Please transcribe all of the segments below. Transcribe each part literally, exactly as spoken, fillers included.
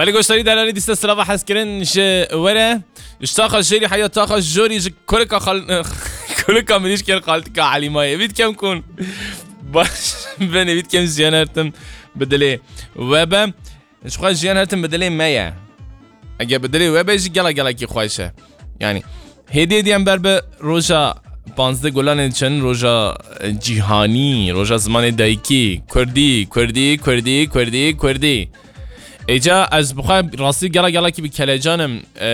Belê goşdarî delalî dîste silava hezkirin ji were. Ji taxa jêrî heya taxa jorî ji kulika xal-, kulika mirîşkên xaltika Elîmayê. Vît kem kun. Baş, benê vît kem jiyan hertim bi dilê we be. Ji xwe jiyan hertim bi dilê me ye. Eger bi dilê we be jî gela gelekî xweş e. Yani, hêdî hêdî em ber bi roja panzdeh Gulanê diçin, roja, e, cîhanî, roja zimanê dayikî, kurdî, kurdî, kurdî, kurdî, kurdî. Êca ez bi xwe rastî gela gelekî bi kelecan im, e,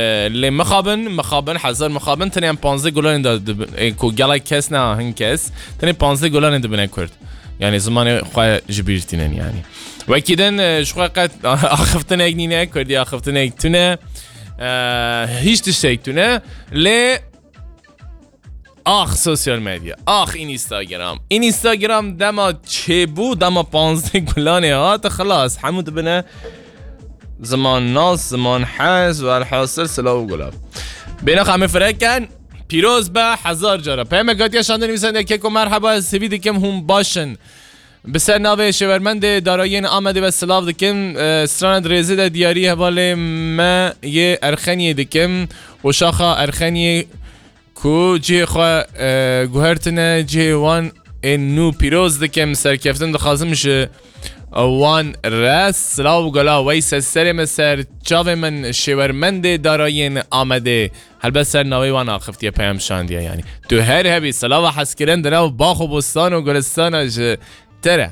lê mixabin, mixabin, hezar mixabin, tenê em panzdeh Gulanê de dibin, e, ku gelek kes ne, hin kes, tenê panzdeh Gulanê dibine kurd. Yani zimanê xwe ji bîr tînin yani. Wekî din, e, ji xwe qet axiftinek nîne, kurdî axiftinek tune. E, hîç tiştek tune. Lê ax sosyal medya, ax Instagram. Instagram dema çêbû, dema panzdeh Gulanê hat, xilas, hemû dibine ziman nas, ziman hez, welhasil silav û gulav. Bêna xamê fireken, pîroz be hezar cara. Peymek hatiye şandin nivîsende keko merheba, ez hêvî dikim hûn baş in. Bi ser navê Şêwermendê Darayiyên Amedê ve silav dikim. E, strana di rêzê de diyarî hevalê me yê Erxeniyê dikim. Û şaxa Erxeniyê ku cihê xwe, e, guhertine, cihê wan ên nû pîroz dikim. Serkeftin dixwazim ji wan re. Silav û gala weyse serê min, ser çavê min, Şêwermendê Darayiyên Amedê. Helbet ser navê wan axiftiye, peyam şandiye yani. Tu her hebî, silava hezkirin di nav bax û bostan û gulistana ji te re.